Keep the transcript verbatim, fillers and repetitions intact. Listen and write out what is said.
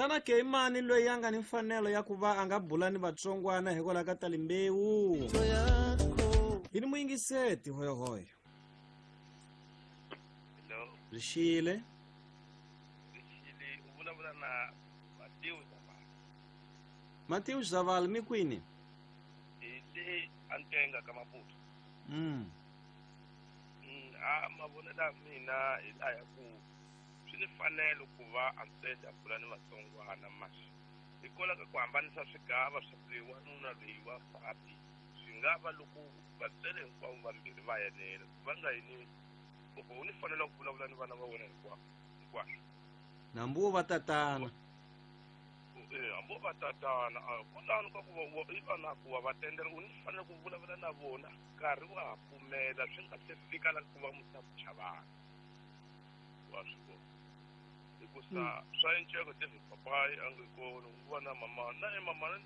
Xana ke i mani loyi a nga ni mfanelo ya ku va a nga bula ni vatsongwana hikwalaho ka talimbewu? Hi ni muyingiseti hoyohoyo. Hello. Rixile. Rixile, u vulavula na Matewu Zavala. Matewu Zavala, mi kwini? Hi le Antenga ka Maputo. Mm. Mm, a mavonelo ya mina hi laya ku swi ni fanelo ku va Antswele a bula ni vatsongwana masi hikwalaho ka ku hambanisa swigava swa ku loyi wanuna loyi wa nsati swi nga va loko vatswele hinkwavo vambirhi va yenela va nga yini u ni fanelo ku vulavula ni vana va wena hinkwavo hinkwaswo. Nambu wo va tatana. Eh, hambi wo va tatana kwalano ka ku va i vana ku va va tendela u ni fanele ku vulavula na vona nkarhi wa ha pfumela swi nga se fika la ku va musa ku chavana wa swi vona hikusa swa enceko David papayi a nge kona ku va na mama na e mama